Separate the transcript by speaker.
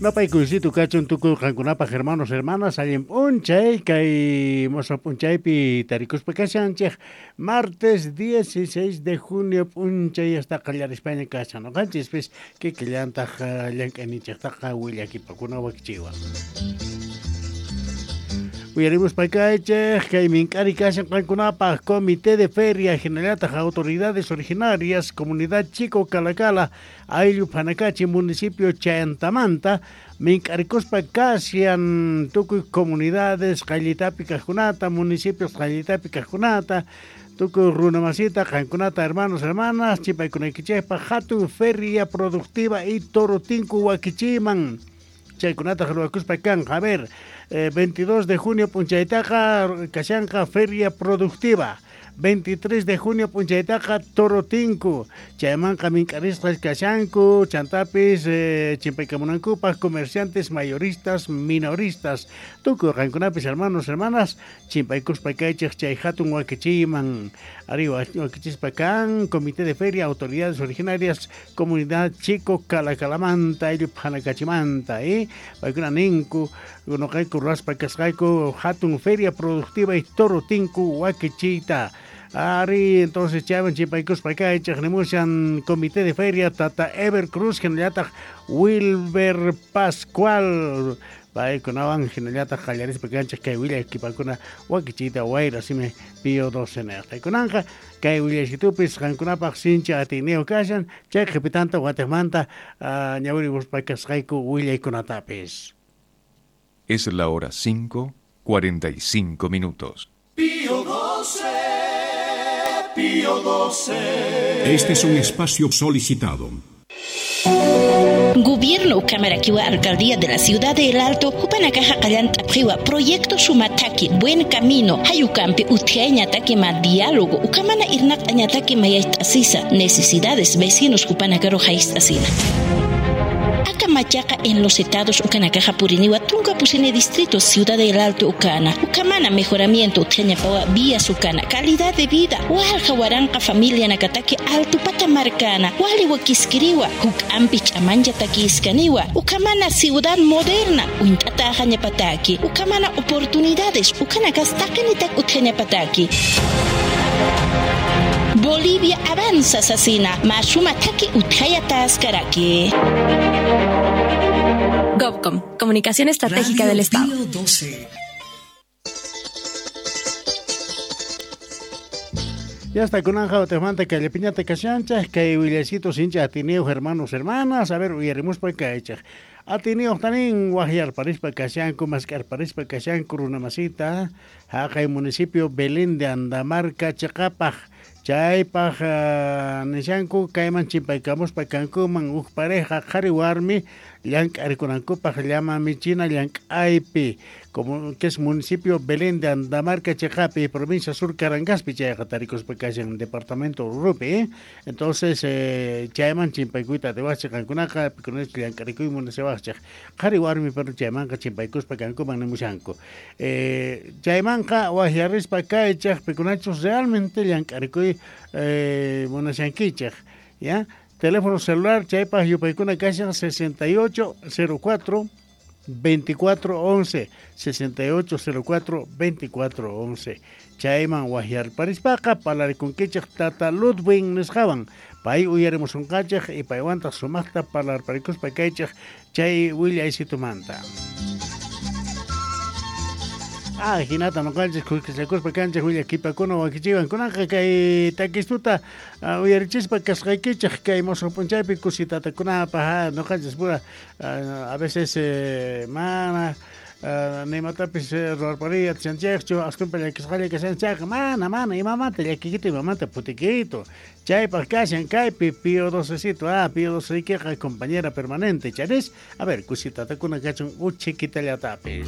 Speaker 1: Napaykuysito kachun tukuy qankunapaq hermanos, hermanas, allin p'unchay kay mosoq p'unchaypi tarikuspa kashanchik martes 16 de junio p'unchay hasta qallarispaña kashan noqanchispis kikillantaq llank'ayninchiktaqa willakipakuna wakichiwan. Uyarimuspa kaychik kay mink'ari kashan qankunapaq Comité de Feria hinallataq autoridades originarias Comunidad Chico Calacala ayllu Panacachi municipio Chayantamanta mink'arikuspa kashan tukuy comunidades qayllitapi kaqkunata municipios qayllitapi kaqkunata tukuy runamasita qankunata hermanos hermanas chipaykunaykichikpaq hatun feria productiva y torotinku wakichiman chaykunata ruwakuspa kanqa. A ver, 22 de junio p'unchaytaqa kashanqa feria productiva. 23 de junio p'unchaytaqa torotinku chaymanqa mink'arisqa kashanku chantapis chimpaykamunankupaq comerciantes mayoristas minoristas. Tukuy qankunapis hermanos hermanas chimpaykuspa kaychik chay hatun wakichiyman. Ari wakichispa kan comité de feria autoridades originarias comunidad Chico Calacalamanta ayllu Phanacachimanta paykuna ninku noqayku ruwaspa kasqayku hatun feria productiva y torotinku wakichiyta. Ari, entonces chayman chimpaykuspa kaychik nimushan comité de feria Tata Ever Cruz hinallataq Wilber Pascual. Paykunawan hinallataq qallarispa kanchik kay willakipakuna wakichiyta wayra simi Pío 12 niqta. Kunanqa kay willasitupis qankunapaq sinchi atiyniyuq kashan chay qhipitanta watiqmanta ñawirimuspa kasqayku willaykunatapis.
Speaker 2: Es la hora 5:45 minutos.
Speaker 3: Pío 12, Pío 12.
Speaker 4: Este es un espacio solicitado.
Speaker 5: Gobierno Camaraquiwa Alcaldía de la Ciudad de El Alto, Jupanakaja Qallant'apqiwa, Proyecto Sumataki, Buen Camino, Hayukampi, Utjayñataki ma diálogo, Ukamana Irnaq'añataki mayayt'asisa, necesidades vecinos Jupanakaro hayt'asina. Akamachaqa en los estados Ukanakaja Puriniwa, Trunca Pusine Distrito, Ciudad del Alto Ukana, Ukamana mejoramiento Utjañapawa, vías Ukana, calidad de vida, Walja Waranqa familia Nakataki, Alto Patamarcana, Waliwa Kiskiriwa, Huk Ampich Amanja Takiskaniwa, Ukamana ciudad moderna, Uintata Jañapataki, Ukamana oportunidades, Ukana Kastaqinitak Utjañapataki. Bolivia avanza, Sasina. Masuma taki utjaya taskaraki.
Speaker 6: Gobcom, Comunicación Estratégica
Speaker 7: Radio
Speaker 6: del Estado.
Speaker 7: Pío 12.
Speaker 1: Ya está con Ángel Tejmanta, que le piñata kashancha, que willasito sincha atineo hermanos hermanas, a ver, uyarimuspa kaychaj. Atineo tanin guajiar parispa kashanku, mascar parispa kashanku, runamasita, jaqay municipio Belén de Andamarca, Chacapaj. Chaypaj nishanku kayman chimpaykamuspa kankuman uj pareja qhari warmi llank'arikunankupaq llama michina llank'aypi como que es municipio Belén de Andamarca Chejapi, provincia Sur Carangaspi, chayqa tarikuspa kashan departamento Ururupi, Entonces chayman chimpaykuyta atiwaqchik qankunaqa pikunachus llank'arikuy munasawaqchik qhari warmi pero chaymanqa chimpaykuspa kankuman nimushanku. Chaymanqa waqyarispa kaychik pikunachus realmente llank'arikuy munashankichik, ¿ya? Teléfono celular chaypaq yupaykuna kashan 6804 2411 6804 2411 chayman waqyarparispaqa parlarikunkichik Tata Ludwig nisqawan pay uyarimusunqachik y paywantaq sumaqta parlarparikuspa kaychik chay willaysitumanta. Ah, hinata noqanchik khuskichakuspa kanchik willakipakuna wakichiwan kunanqa kay takistuta uyarichispa kasqaykichik kay mosoq p'unchaypi kusitatakunapaq noqanchis pura a veces mana nimatapis ruwarpariy atishanchikchu askunpa llakisqalla kashanchikqa mana mana imamanta llakikito imamanta putikito chaypaq kashan kaypi Pío 12cito Pío 12 compañera permanente charis a ver kusitatakuna kachun uchikitallatapis.